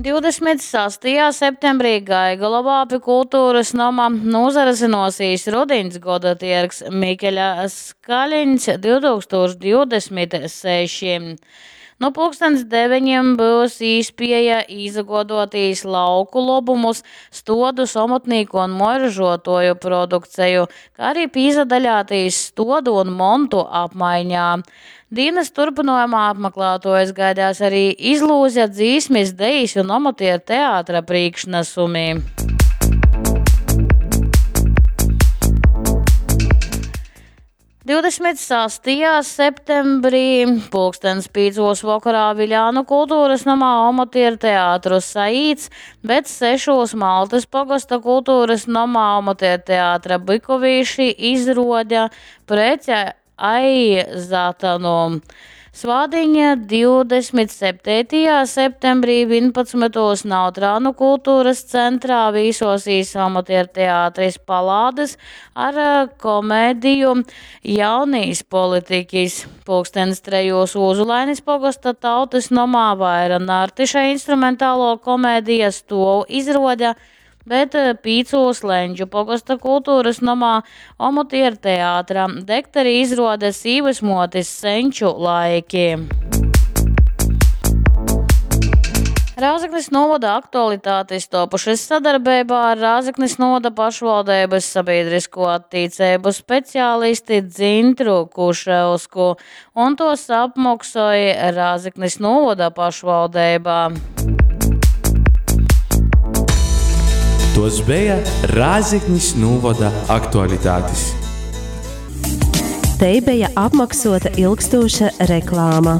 26. septembrī Gaigalovā pi kulturys noma nūsarisynuosīs rudiņs godatiergs Mikeļa Skaliņs 2026. Nu pulkstens deveņim byus īspieja īsaguoduotīs lauku lobumus, stuodus, omotnīku un muojražuotuoju produkceju, kā arī pīsadaļātīs stuodu un montu apmaiņā. Dīnys turpynuojumā apmaklātuojus gaidās arī izlūze, dzīsmis, dejis un omotieru teātra prīšknasumi. 26. septembrī pulkstens pīcūs vokorā Viļānu kultūras nomā omotieru teātru saīts, bet sešūs Maltys pogosta kultūras nomā omotieru teātra Bykovīši izruode Prece ai Zatanu. Svātdiņ, 27. septembrī 11. Nautrānu kultūras centrā vīsosīs amatierteātris Palādas ar komēdiju Jaunīs politiķis. Pulkstens trejos Ūzulainis pogosta tautys nomā Vaira Nartiša instrumentālo komēdija Stuov izruode, bet pīcūs Lendžu pogosta kultūras nomā omotieru teātra Dekteri izruode Sīvysmuotis senču laiki. Rēzeknis novada aktualitātes topušas sadarbeībā ar Rēzeknis novada pašvaldības sabiedrisko attīcību speciālisti Dzintru Kuševsku, un tos apmaksāja Rēzeknis novada pašvaldība. Tos bija Rēzeknis novada aktualitātes. Te bija apmaksota ilgstoša reklāma.